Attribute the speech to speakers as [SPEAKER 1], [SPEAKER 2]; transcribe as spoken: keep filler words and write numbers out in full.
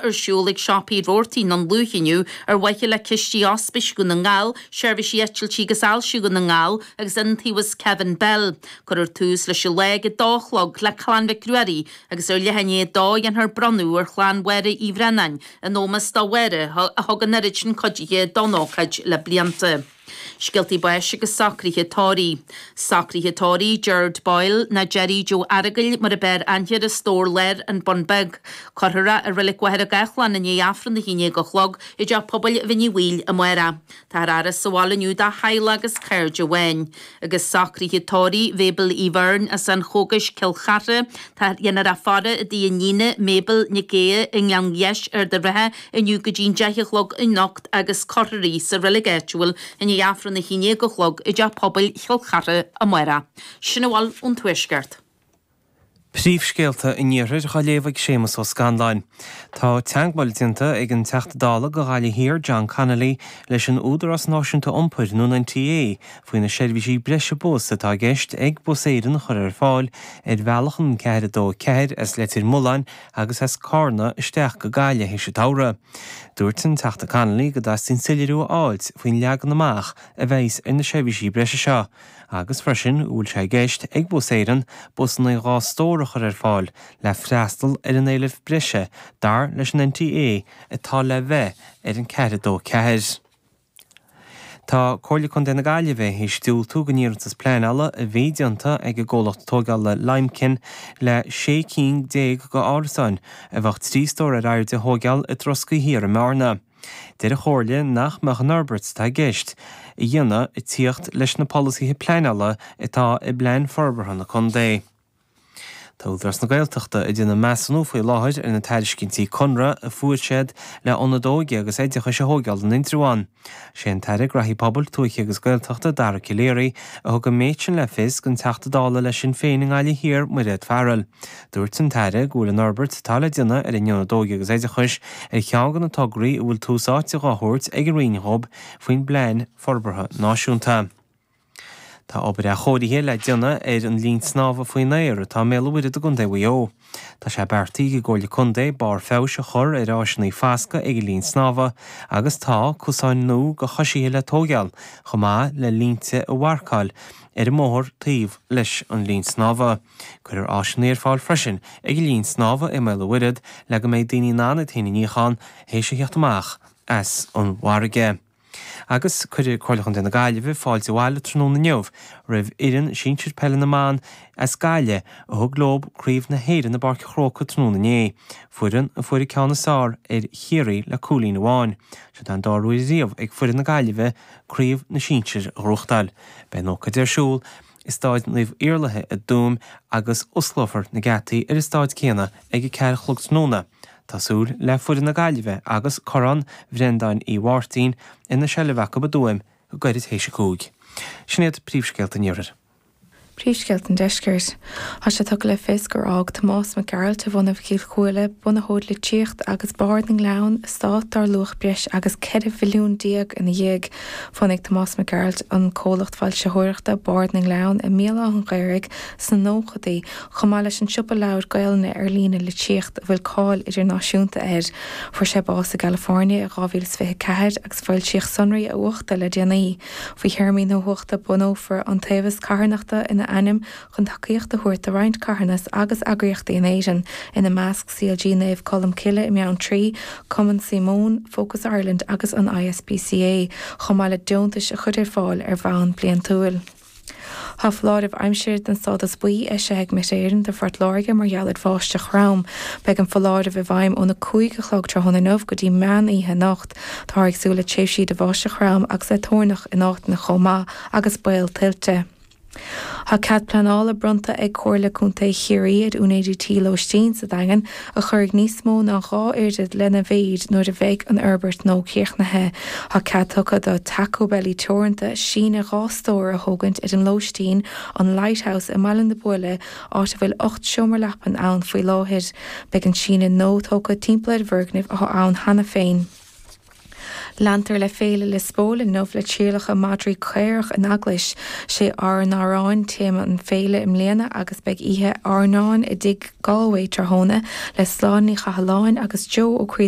[SPEAKER 1] ar siúl ag siopaí Roarty an Lúth inniu ar mhaithe le cistí Ospís Dhún na nGall, Seirbhísí Eitiltí agus Ailse Dhún na nGall agus Iontaobhas Kevin Bell. Cuirfear tús leis an lá ag a dó a chlog le Clann Mhic Ruairí agus ar leath i ndiaidh a dó dhéanfar bronnadh ar chlann Mháire Uí Bhraonáin in ómós do Mháire a thug an oiread sin cuidithe don ócáid le blianta. Scéaltaí báis agus socruithe tórraimh. Socruithe tórraimh Gerard Boyle nó Jerry Joe Fheargail mar ab fhearr aithne air as Dobhar Láir, An Bun Beag. Cuirfear é i Reilig Mhachaire Gathlán i ndiaidh Aifreann a haon déag a chlog i dTeach Pobail Bhinn Uí Bhaoill amárach. Táthar á fhaire sa bhaile inniu dá theaghlach agus cairde amháin. Agus socruithe tórraimh Mabel Uí Bheirn as an Chógais Cill Chartha. Tá dhéanfar é a fhaire i dtigh a iníne Mabel Nic Aodha i nGleann Gheis Ard an Rátha inniu go dtí'n deich a chlog anocht agus cuirfear í sa reilig áitiúil i ndiaidh Aifreann a haon déag a chlog i dTeach Pobail Chill Chartha amárach. Sin a bhfuil ón Tuaisceart.
[SPEAKER 2] Príomhscéalta an Iarthair á léamh ag Séamus Ó Scanláin. Tá teagmháil déanta ag an Teachta Dála do Ghaillimh Thiar John Connolly leis an Údarás Náisiúnta Iompair nó an NTA faoi na seirbhísí breise bus atá i gceist ag Bus Éireann a chur ar fáil ar bhealach an ceathair a dó ceathair as Leitir Mealláin agus as Carna isteach go Gaillimh théis an tsamhraidh. Dúirt an Teachta Connolly go dteastaíonn soiléiriú a fháilt faoin leagan amach a bheas ar na seirbhísí breise seo, agus freisin an bhfuil sé i gceist ag Bus Éireann busanna dhá stór a chur ar fáil le freastal ar an éileamh breise dar leis an NTA atá le bheith ar an ceathair a dó ceathair. Tá Comhairle Contae na Gaillimhe théis diúltú don iarratas pleanála a bhí déanta ag an gcomhlacht tógála Limekiln le sé cinn déag d'árasáin a bheadh trí stór ar airde a thógáil i dTroscaí Thiar i mBearna. Deir an Chomhairle nach mbeadh an fhorbairt atá i gceist a dhéanamh ag tíocht leis na polasaithe pleanála atá i bplean forbartha na contae. Tá Údarás na Gaeltachta ag déanamh measúnú faoi láthair ar na tairiscintí conradh a fuair siad le ionad óige agus oideachais a thógáil in Indreabhán. Sé an tAire Graithí Pobail, Tuaithe agus Gaeltachta Dara Calleary a thug an méid sin le fios don Teachta Dála le Sinn Féin i nGaillimh Thiar, Mairéad Farrell. Dúirt an tAire go bhfuil an fhorbairt atá le déanamh ar an ionad óige agus oideachais ar cheann de na tograí a bhfuil tús áite dhá thabhairt ag an Roinn dhóibh faoin bplean forbartha náisiúnta. Tá obair athchóirithe le déanamh ar an linn snámha faoin aer atá i mBéal an Mhuirthead i gContae Mhaigh Eo. Tá sé beartaithe ag an gComhairle Contae barr feabhais a chur ar áiseanna foscaidh ag an linn snámha agus tá cosáin nua do choisithe le tógáil chomh maith le línte a mharcáil ar an mbóthar taobh leis an linn snámha. Cuirfear áiseanna ar fáil freisin ag an linn snámha i mBéal an Mhuirthead le go mbeidh daoine in ann iad féin a níochán théis a theacht amach as an bhfarraige. Agus cuirfidh Comhairle Chontae na Gaillimhe fáilte abhaile tráthnóna inniu roimh fhoireann sinsir peile na mban as Gaillimh a thug leo Craobh na hÉireann i bPáirc an Chrócaigh tráthnóna inné, foireann a fuair an ceann is fearr ar Chiarraí le cúilín amháin. Seo an dara huair riamh ag foireann na Gaillimhe Craobh na Sinsir a ghnóthachtáil. Beidh an ócáid ar siúl i Staid Naomh Iarlaithe i dTuaim agus osclófar na geataí ar an staid céanna ag a ceathair a chlog tráthnóna. Tá súil le foireann na Gaillimhe agus Corrán Bhreandáin Uí Mháirtín ina seilbh acu i dTuaim go gairid théis a cúig. Sin iad príomhscéalta an Iarthair.
[SPEAKER 3] Príomhscéalta an Deiscirt. Tá sé tugtha le fios gur fhág Tomás Mac Gearailt de bhunadh Chill Chuaille, bunaitheoir Litríocht agus Bard na nGleann, eastát dar luach breis agus ceithre mhilliún déag ina dhiaidh. Bhunaigh Tomás Mac Gearailt an comhlacht foilsitheoireachta Bard na nGleann i mBéal Átha an Ghaorthaidh sna nóchaidí, chomh maith leis an siopa leabhar Gaelainne ar líne Litríocht a bhfuil cáil idirnáisiúnta air. Fuair sé bás i gCalifornia i dhá mhíle is fiche ceathair agus foilsíodh sonraí a uachta le déanaí. Faoi théarmaí na huachta bunófar iontaobhas carthanachta ina ainm chun tacaíocht a thabhairt do roinnt carthanas agus eagraíochtaí in Éirinn, ina measc CLG Naomh Colm Cille i mBeanntraí, Cumann Síomóin, Focus Ireland agus an ISPCA, chomh maith le deontais a chur ar fáil ar bhonn bliantúil. Tá foláireamh aimsire den stádas buí eisithe ag Met Éireann do Phort Láirge mar gheall ar bháisteach throm. Beidh an foláireamh i bhfeidhm óna cúig a chlog tráthnóna inniu go dtí meán oíche anocht. Táthar ag súil le tréimhsí de bháisteach throm agus le toirneach in áiteanna chomh maith agus baol tuilte. Tá cead pleanála bronnta ag Comhairle Contae Chiarraí ar úinéirí tí lóistín sa Daingean a chuirfidh níos mó ná dhá oiread lena mhéid nuair a bheidh an fhorbairt nua críochnaithe. Tá cead tugtha do Taco Belly Teoranta síneadh dhá stór a thógaint ar an lóistín an Lighthouse i mBaile na Buaile, áit a bhfuil ocht seomra leapan ann faoi láthair. Beidh an síneadh nua tógtha timpeall ar an bhfoirgneamh atá ann cheana féin. Leantar le Féile Liospóil inniu le trialacha madraí caorach in eaglais. Sé Ár nArán téama an féile i mbliana agus beidh oíche airneáin i dTigh Galway tráthnóna le Sláine Ní Chathalláin agus Joe Ó Críodáin.